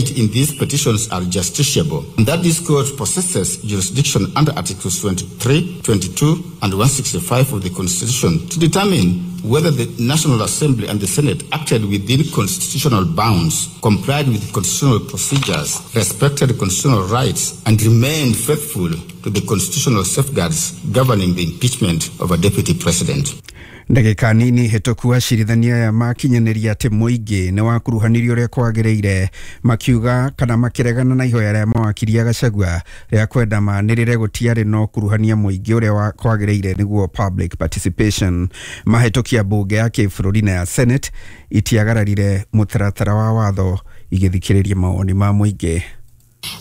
contained in these petitions are justiciable, and that this court possesses jurisdiction under Articles 23, 22, and 165 of the Constitution to determine whether the National Assembly and the Senate acted within constitutional bounds, complied with constitutional procedures, respected constitutional rights, and remained faithful to the constitutional safeguards governing the impeachment of a deputy president. Ndagĩka nini hĩtũku acirithania aya makinyanĩria atĩ mũingĩ nĩ wakuruhanirio ũrĩa kwagĩrĩire, makiuga kana makĩregana na ihoya rĩa mawakiri a Gachagua rĩa kwenda manĩrĩre gũtiarĩ na ũkuruhania mũingĩ ũrĩa kwagĩrĩire nĩguo public participation. Mahĩtũkia mbunge ya kĩbũrũri na ya Senate itiagararire mũtaratara wa watho igĩthikĩrĩria mawoni ma mũingĩ.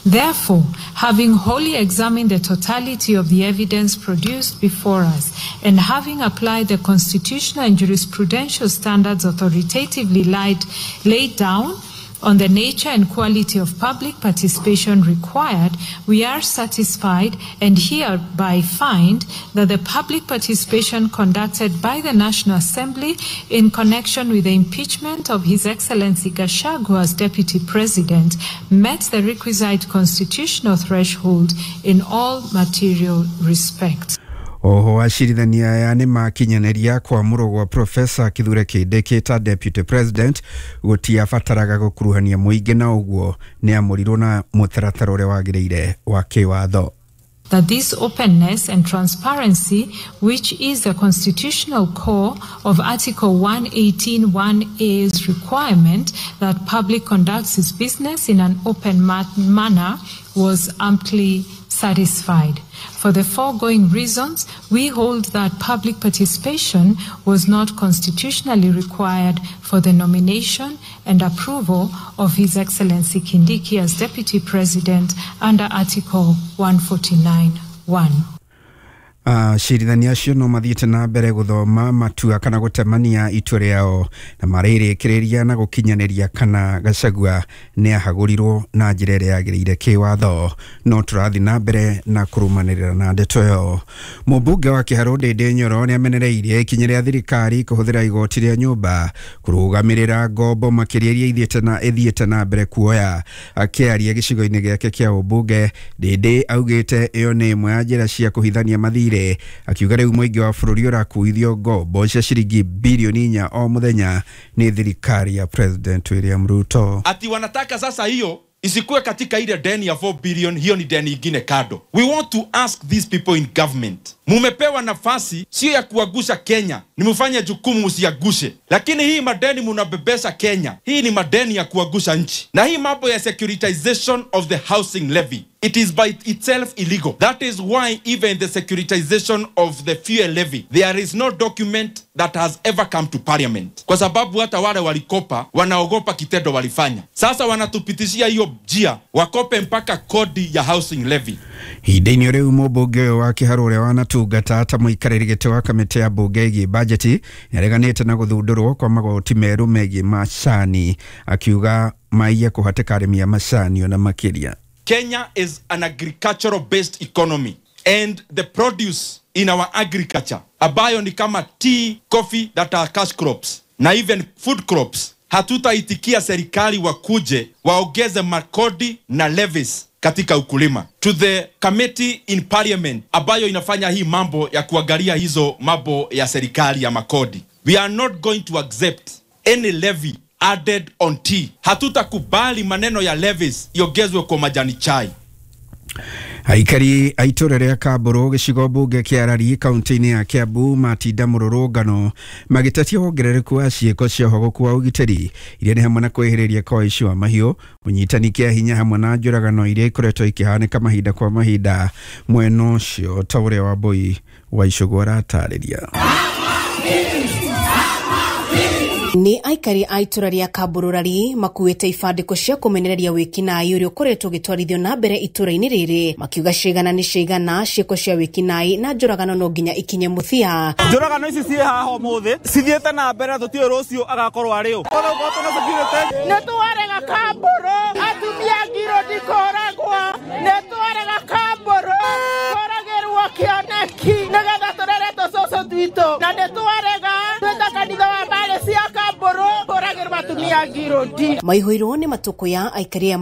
Therefore, having wholly examined the totality of the evidence produced before us and having applied the constitutional and jurisprudential standards authoritatively laid down on the nature and quality of public participation required, we are satisfied and hereby find that the public participation conducted by the National Assembly in connection with the impeachment of His Excellency Gachagua as Deputy President met the requisite constitutional threshold in all material respects. Oho acirithania aya nĩ makinyanĩria kwamũrwo gwa Profesa Kithure Kindiki ta Deputy President gũtiabataraga gũkuruhania mũingĩ na ũguo nĩ amũrirwo na mũtaratara ũrĩa wagĩrĩire wa kĩwatho. That this openness and transparency, which is the constitutional core of Article 118.1a's requirement that public conducts its business in an open manner, was amply satisfied. For the foregoing reasons, we hold that public participation was not constitutionally required for the nomination and approval of His Excellency Kindiki as Deputy President under Article 149.1. Acirithania acio no mathiĩte na mbere gũthoma matua kana gũtemania itua rĩao na marĩrĩkĩrĩria na gũkinyanĩria kana Gachagua nĩ ahagũrirwo na njĩra ĩrĩa yagĩrĩire kĩwatho. No tũrathiĩ na mbere na kũrũmanĩrĩra na ndeto ĩyo. Mũmbunge wa Kĩharũ Ndĩndĩ Nyoro nĩ amenereirie ikinya rĩa thirikari kũhũthĩra igoti rĩa nyũmba kũrũgamĩrĩra ngombo makĩria iria ithiĩte na mbere kuoya. Akĩaria gĩcigo-inĩ gĩake kĩa ũmbunge, Ndĩndĩ augĩte ĩyo nĩ ĩmwe ya njĩra cia kũhithania mathirĩ, akiuga rĩu mũingĩ wa bũrũri ũrakuithio ngombo cia ciringi bilioni 4 o mũthenya nĩ thirikari ya President William Ruto. Ati wanataka sasa hiyo isikuwe katika ile deni ya 4 billion, hiyo ni deni ingine kado. We want to ask these people in government, mumepewa nafasi sio ya kuagusha Kenya, ni mufanye jukumu msiagushe. Lakini hii madeni munabebesha Kenya, hii ni madeni ya kuagusha nchi. Na hii mambo ya securitization of the housing levy, it is by itself illegal. That is why even the securitization of the fuel levy, there is no document that has ever come to parliament. Kwa sababu hata wale walikopa wanaogopa kitendo walifanya. Sasa wanatupitishia hiyo njia wakope mpaka kodi ya housing levy. Ihinda-inĩ rĩu mũmbunge ũyũ wa Kĩharũ ũrĩa wanatungata ta mũikarĩri gĩtĩ wa kamĩtĩ ya mbunge ĩgiĩ bajeti nĩareganĩte na gũthundũrwo kwa magoti merũ megiĩ macani, akiuga maiye kũhatĩka arĩmi a macani ona makĩria. Kenya is an agricultural based economy, and the produce in our agriculture ambayo ni kama tea, coffee that are cash crops na even food crops, hatutaitikia serikali wakuje waongeze makodi na levies katika ukulima. To the committee in parliament ambayo inafanya hii mambo ya kuangalia hizo mambo ya serikali ya makodi, we are not going to accept any levy added on tea. Hatutakubali maneno ya levies iongezwe kwa majani chai. Aikari a itũra rĩa Kambũrũ gĩcigo mbunge kĩa Arari kaunti-inĩ ya Kiambu matinda mũrũrũngano magĩtetia wongerereku wa ciĩko cia ũhogoku wa ũgitĩri iria nĩ hamwe na kwĩhĩrĩria kwa ũici wa mahiũ, ũnyitani kĩa hinya hamwe na njũragano iria ikoretwo ikĩhanĩka mahinda kwa mahinda mwena ũcio, ta ũrĩa Wambui wa Icũgũ aratarĩria. Nĩ aikari a itũra rĩa Kambũrũrari makuĩte ibandĩko cia kũmenereria wĩkinaĩ ũrĩa ũkoretwo ũgĩtwarithio na mbere itũra-inĩ rĩrĩ, makiuga cigana nĩ cigana ciĩko cia wĩkinaĩ na njũragano no nginya ikinye mũthia. Njũragano ici ciĩ haha ũmũthĩ cithiĩte na mbere, tũtiũĩ rũciũ agakorwo arĩ ũ. Nĩ twarega Kambũrũ, atumia ngiro ndikũragwo, nĩ twarega Kambũrũ kũragĩrwo kĩoneki nĩgetha tũrere tũcũcũ twitũ, na nĩ twarega twĩta kanitha wa mbarĩ cia Kambũrũ kũragĩrwo atumia ngirũndi. Maihũirwo nĩ matũkũya aikari a